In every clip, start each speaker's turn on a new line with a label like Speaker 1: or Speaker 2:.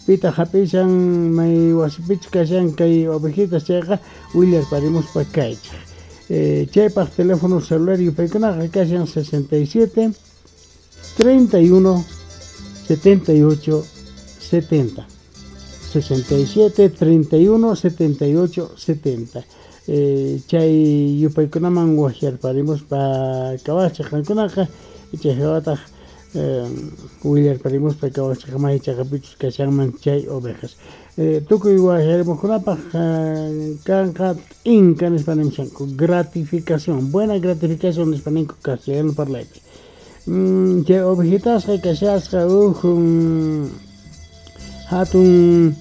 Speaker 1: Pitaq hap'ishan may wasipichus kashan kay ovejitas chayqa willarparimuspa kaychej. Chaypaq teléfono celular yupaykunaqa kashan 67 31 78 70. 67 31 78 70. Chay yupaykunaman wajyarparimuspa kawajchej qankunaqa chay jawataq willarparimuspa kawajchej may chaqapichus kashanman chay ovejas. Tukuy wajyarimuqkunapaq kanqa t'inka nispa nimushanku gratificación, buena gratificación nispa ninku castellano parlaypi. Chay ovejitasqa kashasqa uj hatun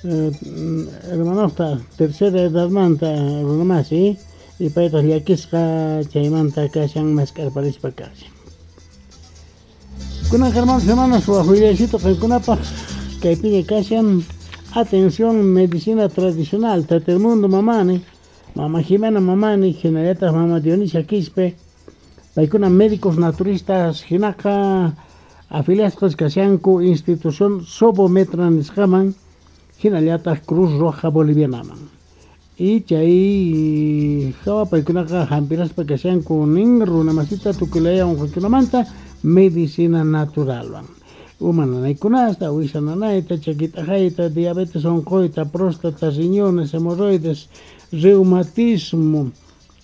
Speaker 1: hermanosta tercera edadmanta runamasi y paytaq llakisqa chaymanta kashan mask'arparispa kashan. Kunan hermanos hermanas waj willaycito qankunapaq kaypiña kashan atención medicina tradicional Tata Mundo Mamani, Mama Jimena Mamani, hinallataq Mama Dionisia Quispe, paykuna médicos naturistas hinaqa afiliasqas kashanku institución Sobometra nisqaman hinallataq Cruz Roja Bolivianaman. Y chay hawa paykunaqa hampiraspa kashanku nin runamasita tukuylaya unquykunamanta medicina naturalwan. Uma nanaykunasta, wisa nanayta, chaki t'aqayta, diabetes unquyta, próstata, riñones, hemorroides, reumatismo,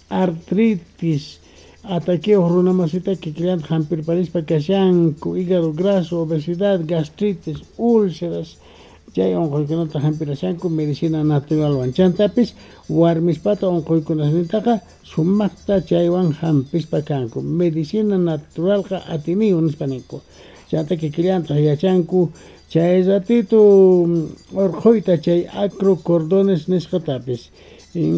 Speaker 1: artritis, ataqueo runamasita kikillanta hampirparispa kashanku, hígado graso, obesidad, gastritis, úlceras, chay unquykunata hampirashanku medicina naturalwan. Chantapis warmispata unquykunasnintaqa sumaqta chaywan hampispa kanku. Medicina naturalqa atiniyu nispa ninku. Chanta kikillantaq yachanku chay ratito urqhuyta chay acrocordones nisqatapis.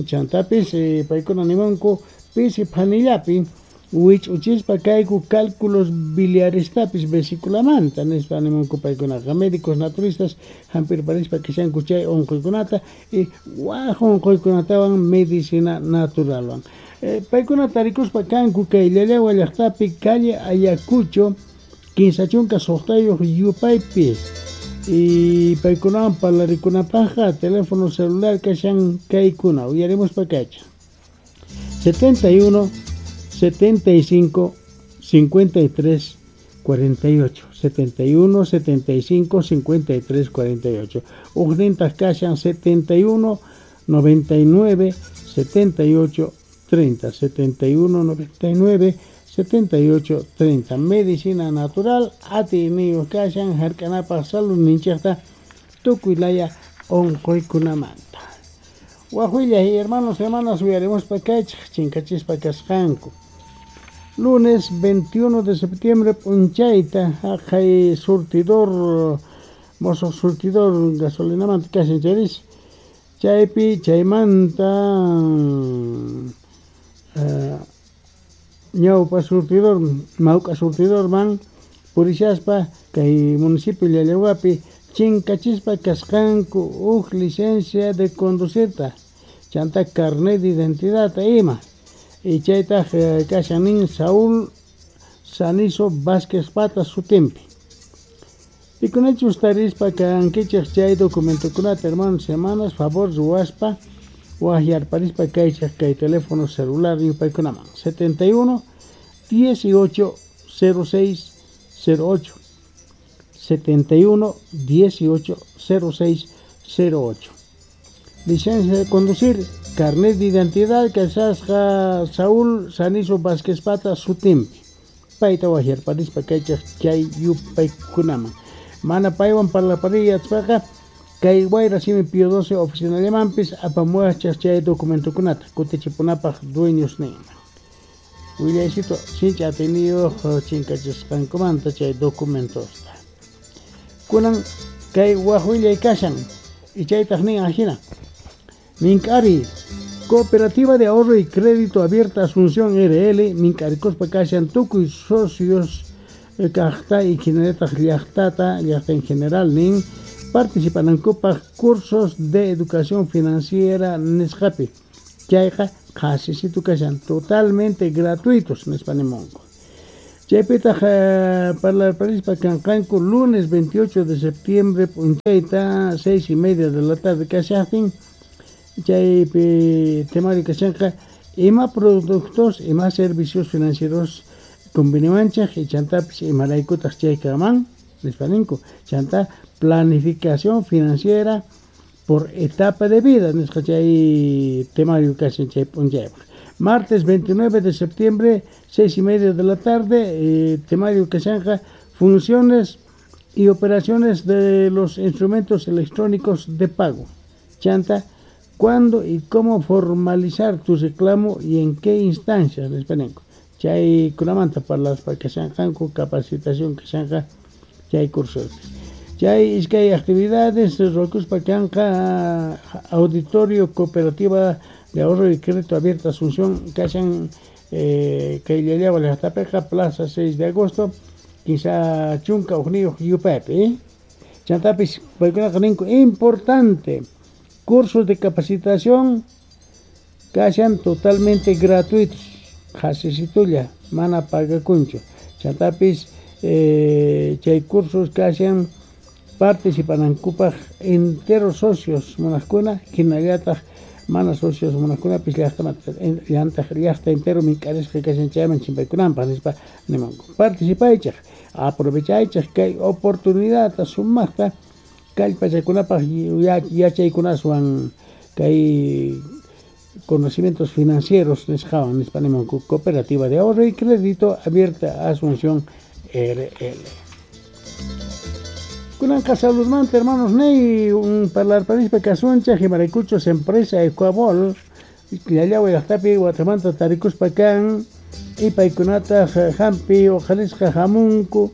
Speaker 1: Chantapis paykuna nimunku pisi phanillapi wich'uchispa kayku cálculos biliarestapis vesiculamanta nispa nimunku paykunaqa. Médicos naturistas hampirparispa kashanku chay unquykunata y waj unquykunatawan medicina naturalwan. Paykuna tarikuspa kanku kay Llallagua llaqtapi calle Ayacucho 56 yupaypi. Y paykunawan parlarikunapaqqa teléfono celular kashan kaykuna uyarimuspa kacha 71 75 53 48 71 75 53 48 ujnintaq kashan 71 99 78 30 71 99 78 30. Medicina natural atiyniyuq kashan hark'anapaq saludninchikta tukuylaya unquykunamanta. Waj willay hermanos hermanas uyarimuspa kaychik chinkachispa kasqanku. Lunes 21 de septiembre p'unchayta haqay surtidor mosuq surtidor gasolinamanta kashan chayris chaypi chaymanta ñawpa surtidor mawk'a surtidorman purishaspa kay municipio Llallawapi chinkachispa kasqanku uj licencia de conducirta chanta carnet de identidad ima y chaytaq kashan nin Saúl Sanizo Vázquez Pata sutinpi. Pikunachus tarispa kankichej chay documentokunata hermanos hermanas favor ruwaspa wajyarparispa kaychej kay teléfono celular yupaykunaman 71 18 06 08 71 18 06 08. Licencia de conducir, carnet de identidad kasasqa Saúl Sanizo Vázquez Pata sutinpi. Payta wajyarparispa kaychej chay yupaykunaman. Mana paywan parlapariyachpaqa kay Wayra Simi Pío 12 oficinallamanpis apamuwachej chay documentokunata kutichipunapaq dueños ninman. Willaycito sinchi atiyniyuq chinkachisqankumanta chay documentosta. Kunan kay waj willay kashan y chaytaq nin ajina. Mink'ari Cooperativa de Ahorro y Crédito Abierta Asunción RL mink'arikuspa kashan tukuy socios kaqta y hinallataq llaqtata llaqta en general nin participanankupaq cursos de educación financiera nisqapi. Chayqa qhasisitu kashan totalmente gratuitos nispa nimunku. Chaypitaj parlarparispa kanqanku lunes 28 de septiembre p'unchayta 6:30 de la tarde kashajtin. Chaypi temario kashanqa ima productos, ima servicios financieros conveniwanchej y chantapis imaraykutaq chay kanman nispa ninku. Chanta planificación financiera por etapa de vida nisqa chay temario kashan chay p'unchaypaq. Martes 29 de septiembre, 6:30 de la tarde, temario kashanqa funciones y operaciones de los instrumentos electrónicos de pago. Chanta, cuándo y cómo formalizar tu reclamo y en qué instancias, nispa ninku. Chay kunamanta parlaspa kashanqanku capacitación kashanqa chay cursopi. Chay iskay actividades ruwakuspa kanqa Auditorio Cooperativa de Ahorro y Crédito Abierta Asunción kashan kay Llallagua llaqtapiqa Plaza 6 de Agosto 31 yupaypi. Chantapis paykunaqa ninku importante cursos de capacitación kashan totalmente gratuitos, qhasisitulla mana pagakunchu. Chantapis chay cursos kashan participanankupaj enteros socios munajkuna hinallataq mana socios munajkunapis llaqtamanta llaqta entero mink'arisqa kashan chayman chimpaykunanpaq nispa nimanku. Participaychej, aprovechaychej kay oportunidadta sumaqta kallpachakunapaq yachaykunaswan kay conocimientos financieros nisqawan nispa nimanku. Cooperativa de Ahorro y Crédito Abierta Asunción RL. Kunanqa saludmanta hermanos ney un parlarparispa kasunchej imaraykuchus empresa Ecuabol Llallagua llaqtapi watamanta tarikuspa kan y paykunataq hampi uqharisqa hamunku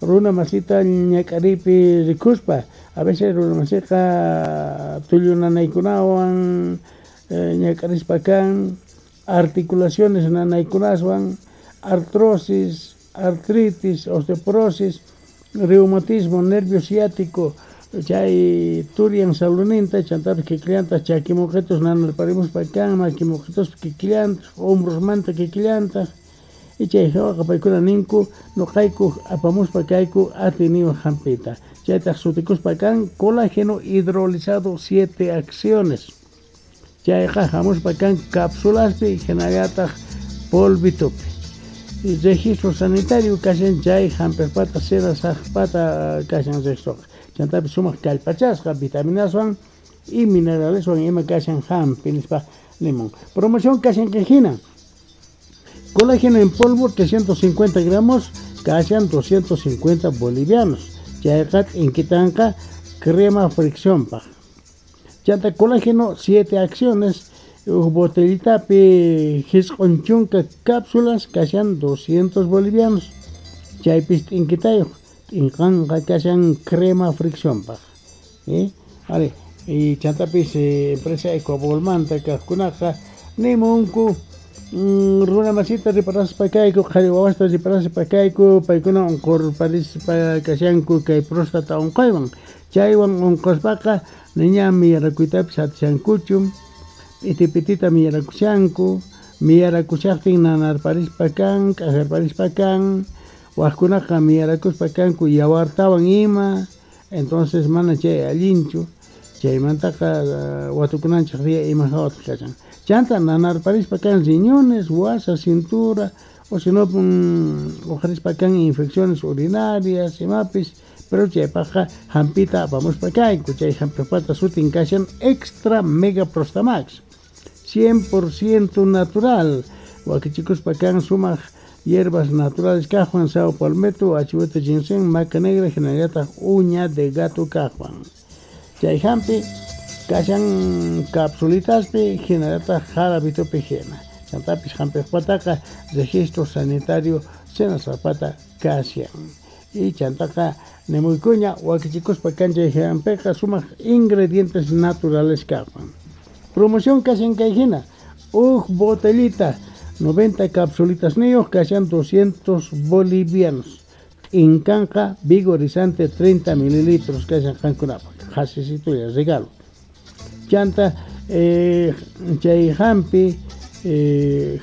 Speaker 1: runa masita ñak'aripi rikuspa. A veces runa masiqa tullu nanaykunawan ñak'arispa kan, articulaciones nanaykunaswan, artrosis, artritis, osteoporosis, reumatismo, nervio ciático, chay turian saluninta, chantapis kikillantaq chakimuqitus nanarparimuspa kan, makimuqituspa kikillantaq, hombrosmanta kikillantaq. Y chay hawaqa paykuna ninku nuqayku apamuspa kayku atiniwan hampita. Chaytaq sutikuspa kan colágeno hidrolizado 7 acciones. Chayqa hamuspa kan cápsulaspi hinallataq polvitopi. Registro sanitario kashan chay hampiqpata senasaqpata kashan registroqa. Chantapis sumaq kallpachasqa vitaminaswan y mineraleswan ima kashan hampi nispa nimun. Promoción kashan kay hina. Colágeno en polvo 350 gramos kashan 250 bolivianos. Chayqa t'inkitanqa crema friccionpaq. Chanta colágeno 7 acciones uj botellitapi jisq'un chunka cápsulas kashan 200 bolivianos. Chaypis t'inkitayuq t'inqanqa kashan crema friccionpaq. Vale. Y chantapis empresa Ecuabolmanta kaqkunaqa nimunku runa masita riparaspa kayku, qhari wawasta riparaspa kayku, paykuna unqurparispa kashanku kay próstata unquywan. Chaywan unquspaqa niña miyarakuytapis atishankuchu, p'iti p'itita miyarakushanku, miyarakushaqtin nanarparispa kan, k'ajarparispa kan, wajkunaqa miyarakuspa kanku yawartawan ima, entonces mana chay allinchu. Chaymantaqa watukunanchej día ima hawataq kashan. Chanta nanarparispa kan riñones, wasa, cintura, o si no uqharispa kan infecciones urinarias, imapis, pero chaypaqqa hampita apamuspa kayku. Chay hampiqpata sutin kashan Extra Mega Prostamax, 100% natural. Wakichikuspa kan sumaq hierbas naturales kaqwan, sao palmetto, achihuete ginseng, maca negra, hinallataq uña de gato kaqwan. Chay hampi kashan capsulitaspi hinallataq jarabitopi hina. Chantapis hampiqpataqa registro sanitario senasaqpata kashan. Y chantaqa nimuykuña wakichikuspa kan chay hampiqa sumaq ingredientes naturales kaqwan. Promoción kashan kay hina. Uj botellita 90 capsulitas niyuq kashan 200 bolivianos. T'inkanqa vigorizante 30 mililitros kashan qankunapaq. Qhasisitulla regalo. Chanta chay hampi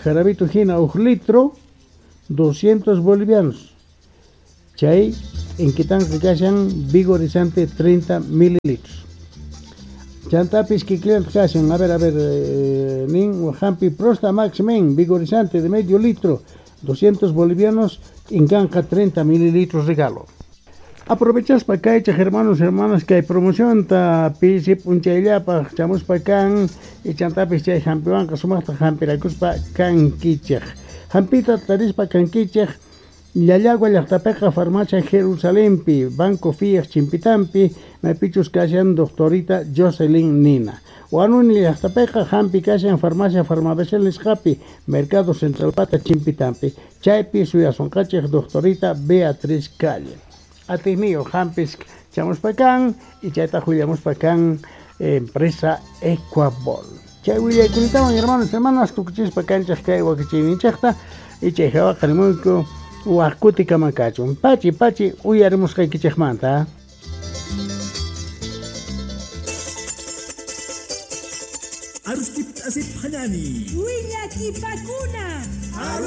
Speaker 1: jarabito hina uj litro 200 bolivianos. Chay t'inkitanqa kashan vigorizante 30 mililitros. Chantapis kikillantaq kashan, a ver, nin hampi Prostamax Men vigorizante de medio litro, 200 bolivianos, t'inkanqa 30 mililitros regalo. Aprovechaspa kaychaj hermanos hermanas kay promocionta pisi p'unchayllapaj chamuspa kan y chantapis chay hampiwanqa sumaqta hampirakuspa kankichej. Hampita tarispa kankichej Llallagua llaqtapiqa farmacia Jerusalempi, Banco Fiat chimpitampi, maypichus kashan doctorita Jocelyn Nina. Huanuni llaqtapiqa hampi kashan farmacia Farmabecel nisqapi, Mercado Central pata chimpitampi, chaypi suyasunqachej doctorita Beatriz Calle. Atiyniyuq hampis chamuspa kan y chayta willamuspa kan empresa Ecuabol. Chay willaykunatawan hermanos hermanas tukuchispa kanchaj kay wakichiyninchejta y chay hawaqa rimuyku waj kutikama kachun. Pachi pachi uyarimusqaykichejmanta.
Speaker 2: Aruskip asip hanani.
Speaker 3: Willakipakuna.